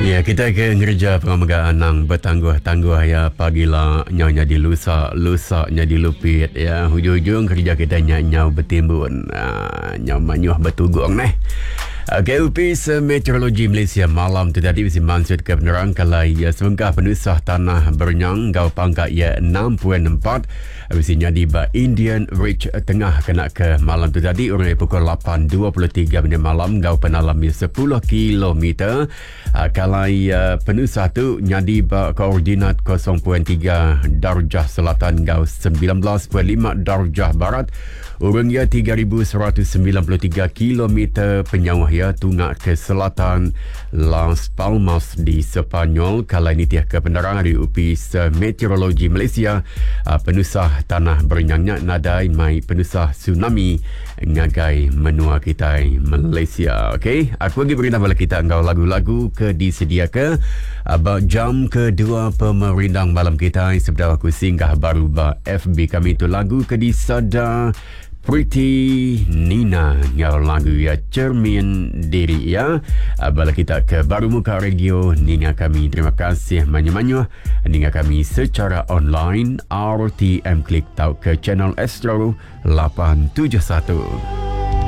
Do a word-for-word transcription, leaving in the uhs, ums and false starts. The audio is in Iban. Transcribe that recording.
Ya, kita ke ngereja pengawa anang betangguh-tangguh ya, pagila nyau nyadi lusa, lusa nyadi lupit ya. Hujung-hujung kerja kita nya nyau betimbun. Uh, nyau manyuh betugung neh. Okey, Upis Meteorologi Malaysia malam tu tadi bisi mansut ke penerang kalai ya, sebengkah penusah tanah berenyang ngau pangkat ya enam perpuluhan empat bisi nyadi ba Indian Ridge Tengah kena ke malam tu tadi orang pukul lapan dua puluh tiga minit malam ngau penalam ya sepuluh kilometer. Uh, kalai uh, penusah tu nyadi ba koordinat kosong perpuluhan tiga darjah selatan ngau sembilan belas perpuluhan lima darjah barat. Urang ya tiga ribu seratus sembilan puluh tiga kilometer penyauh ya tunga ke selatan Las Palmas di Sepanyol. Kalai nitih ke penerang dari Upis Meteorologi Malaysia, penusah tanah berenyangnya nadai mai penusah tsunami ngagai menua kita Malaysia. Okey, aku lagi berita bala kita ngau lagu-lagu ke disediakan ba jam kedua pemerindang malam kita. Sebelum aku singgah baru ba F B kami tu lagu ke disada Pretty Nina ngau lagu ya Cermin Diri ya. Bala kita ke baru muka radio ninga kami, terima kasih manyu-manyu ninga kami secara online R T M Klik tau ke channel Astro lapan tujuh satu.